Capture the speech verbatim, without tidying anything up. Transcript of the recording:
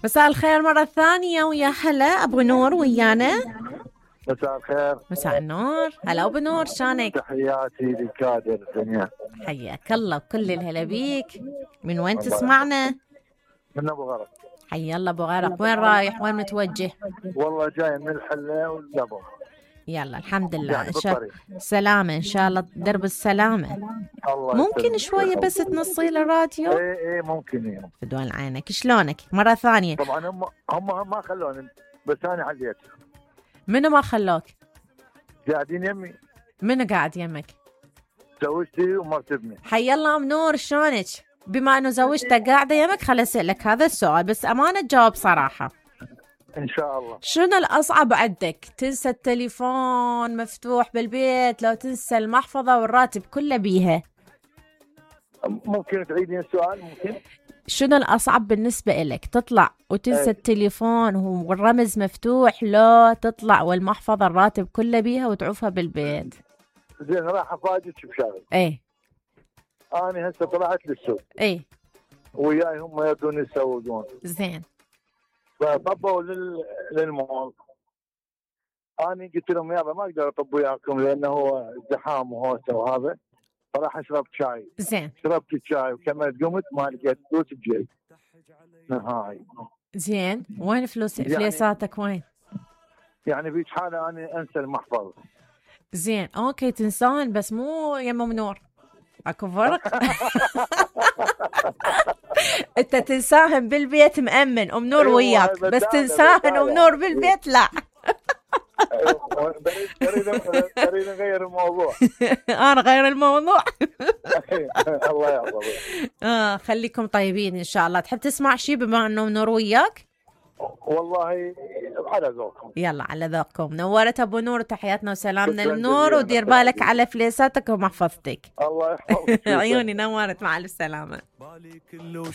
مساء الخير مرة ثانية، ويا هلا أبو نور ويانا. مساء الخير. مساء النور، هلا أبو نور، شانك؟ تحياتي لكادر الدنيا. حياك الله وكل الهلا بيك. من وين تسمعنا؟ من أبو غرق. حيا الله أبو غرق، وين رايح وين متوجه؟ والله جاي من الحلة والدبو. يلا الحمد لله، إن شاء سلامة، إن شاء الله درب السلامة. الله ممكن شوية بس تنصي الراديو؟ ايه ايه ممكن ايه. بدون عينك، شلونك؟ مرة ثانية. طبعا هم هم ما خلوني، بس أنا حليت. منو ما خلوك؟ قاعدين يمي. منو قاعد يمك؟ زوجتي ومرت ابني. حي الله أم نور، شلونك؟ بما انه زوجتك قاعدة يمك خل اسألك هذا السؤال، بس امانة تجاوب صراحة. ان شاء الله. شنو الاصعب عندك؟ تنسى التليفون مفتوح بالبيت، لو تنسى المحفظة والراتب كله بيها؟ ممكن تعيدين السؤال؟ ممكن. شنو الاصعب بالنسبة لك؟ تطلع وتنسى ايه. التليفون والرمز مفتوح، لو تطلع والمحفظة الراتب كله بيها وتعوفها بالبيت؟ زين راح افاجئك بشغله. ايه. انا هسه طلعت للسوق. ايه. وياي هم يردون يسوقون. زين. فطبوا لل... للمول. انا قلت لهم يابا ما اقدر اطب وياكم لانه هو زحام وهوسه وهذا، فراح اشرب شاي. زين. شربت الشاي وكملت قمت ما لقيت فلوس بجيبي نهائي. زين، وين فلوس يعني... فليساتك وين؟ يعني في حاله انا انسى المحفظه. زين اوكي تنسان، بس مو يم ام نور، اكو فرق. انت تنساهن بالبيت مأمن، ام نور وياك، بس تنساهن ام نور بالبيت لا. تريد نغير الموضوع. انا غير الموضوع. الله يحفظك. اه خليكم طيبين ان شاء الله. تحب تسمع شيء بما انه ام نور وياك؟ والله على ذوقكم. يلا على ذوقكم. نورت ابو نور، تحياتنا وسلامنا للنور، ودير بالك على فليساتك ومحفظتك. الله يحفظك. عيوني نورت، مع السلامة.